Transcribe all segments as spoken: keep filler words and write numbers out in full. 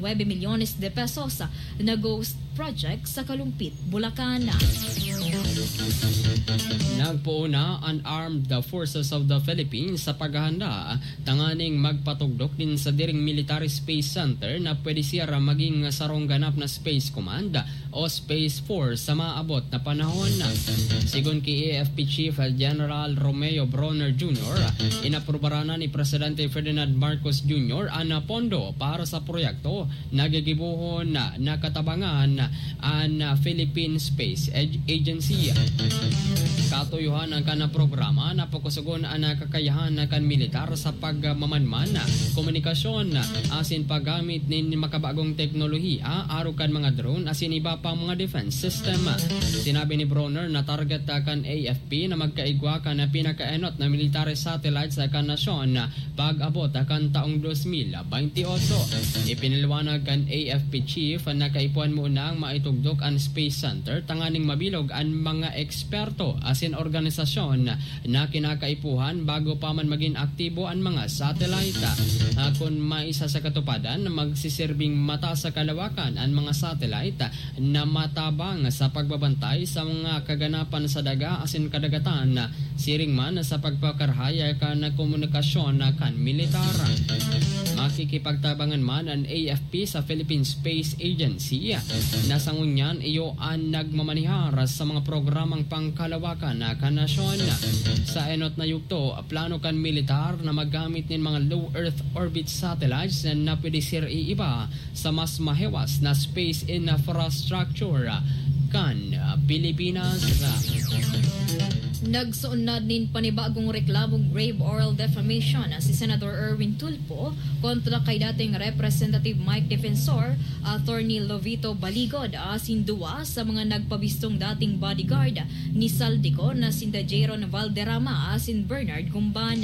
nuebe milyones de pesos na ghost project sa Kalumpit, Bulacan. Nagpoon na an Armed Forces of the Philippines sa paghahanda tanganing magpatugdok nin sadiring military space center na pwede siya maging sarong ganap na space command o Space Force sa maabot na panahon. Sigon ki A F P Chief General Romeo Bronner Junior, inaprubaran na ni Presidente Ferdinand Marcos Junior an pondo para sa proyekto na gigibohon na nakatabangan an Philippine Space Ag-, Agency. Katuyohan ang kan programa na pakusugon an kakayahan kan militar sa pagmamanman, komunikasyon, asin paggamit nin makabagong teknolohiya, arog kan mga drone asin iba pang mga defense system. Sinabi ni Bronner na target kan A F P na magkaigwa kan pinakaenot na military satellites kan nasyon pag-abot kan taong dos mil baynte otso. Ipinaliwanag kan A F P chief na kaipuhan munang maitugdok an Space Center tanganing mabilog an mga eksperto asin organisasyon na kinakaipuhan bago pa man magin aktibo an mga satellite. Ah, kun maisa sa katupadan, magsisirbing mata sa kalawakan an mga satellite na matabang sa pagbabantay sa mga kaganapan sa daga asin kadagatan, siring man sa pagpakarahay kan komunikasyon kan militar. Makikipagtabangan man an A F P sa Philippine Space Agency, na sa ngunyan iyo an nagmamanihar sa mga programang pangkalawakan kan nasyon. Sa enot na yugto, plano kan militar na maggamit nin mga low Earth orbit satellites na pwede sir iiba sa mas mahewas na space infrastructure kan Pilipinas. Nagsuunad nin panibagong reklamong grave oral defamation si Senator Erwin Tulfo kontra kay dating Representative Mike Defensor, Attorney Lovito Baligod, asin duwa sa mga nagpabistong dating bodyguard ni Zaldy Co na sinda Jeron Valderrama asin Bernard Gumban.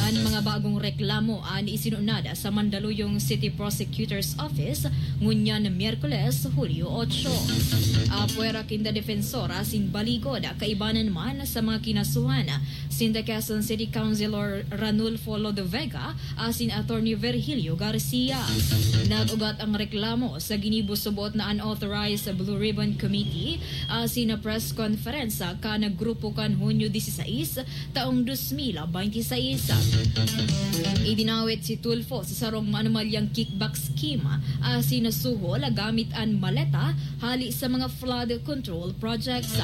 An mga bagong reklamo an isinunad sa Mandaluyong City Prosecutor's Office ngunyan Miyerkules, Hulyo otso. Apwera kinda Defensor asin Baligod, kaibanan man sa mga kinasuhan, sinda Quezon City Councilor Ranulfo Lodevega asin Attorney Virgilio Garcia. Nag-ugat ang reklamo sa ginibo subot na unauthorized Blue Ribbon Committee asin na press conference kan grupo kan Hunyo disisais, taong dos mil baynte sais. Idinawit si Tulfo sa sarong manumalyang kickback scheme asin nasuhol gamit an maleta hali sa mga flood control projects.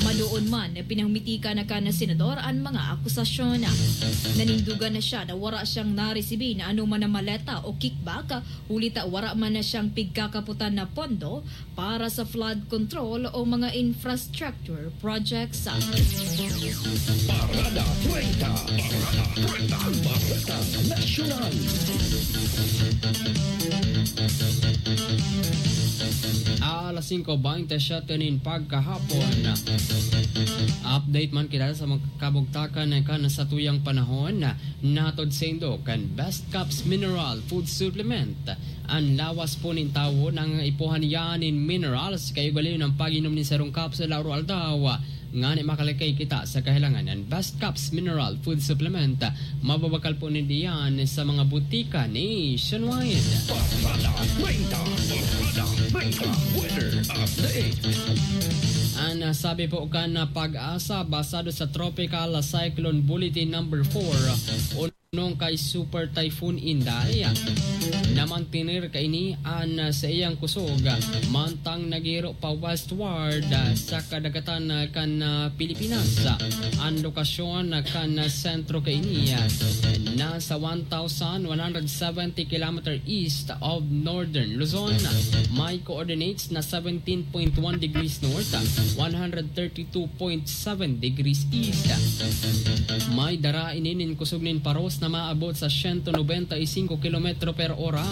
Madoon man, pinahumitikan na kan senador an mga akusasyon. Nanindugan na siya na wara siyang naresibi na anoman na maleta o kickback, huli ta wara man na siyang pigkakapotan na pondo para sa flood control o mga infrastructure projects. Parada treinta. Parada treinta. Ang Baretang Nasyonal. Alas singko baynte siyete nin pagkahapon. Update man kita sa mga kabugtakan kan satuyang panahon. Nahatod saindo kan Best Caps Mineral Food Supplement. An lawas po nin tawo nangangaipuhan niya nin minerals, kaya ugalion ang pag-inom nin sarong capsule araw-aldaw, ngani makalakay kita sa kahilangan. An Best Caps Mineral Food Supplement, mababakal po ninda yan sa mga butika nationwide. Parada treinta, Parada treinta, weather update. An, ah, sabi po kan, ah, PAGASA, basado sa Tropical Cyclone Bulletin number four, nung kay Super Typhoon Inday, namantener kaini an saiyang kusog, mantang naghihiro pa westward sa kadagatan kan Pilipinas. An lokasyon kan sentro kaini nasa one thousand one hundred seventy kilometer east of northern Luzon. May coordinates na seventeen point one degrees north, one hundred thirty two point seven degrees east. May dara ini nin kusog nin paros na maabot sa siyento nobenta y singko kilometro per ora,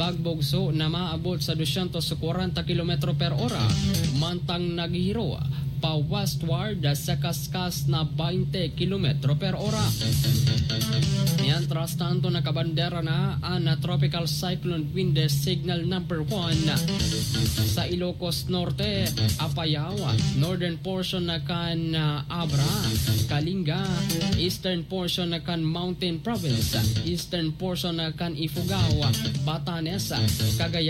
pagbugso na maabot sa dosyentos kwarenta kilometro per ora, mantang naghihiro pa westward sa kaskas na baynte kilometro per ora. Mientras tanto, nakabandera na an Tropical Cyclone Wind Signal number one sa Ilocos Norte, Apayao, northern portion na kan, ah, Abra, Kalinga, eastern portion na kan Mountain Province, eastern portion na kan Ifugao, Batanes, Cagayan,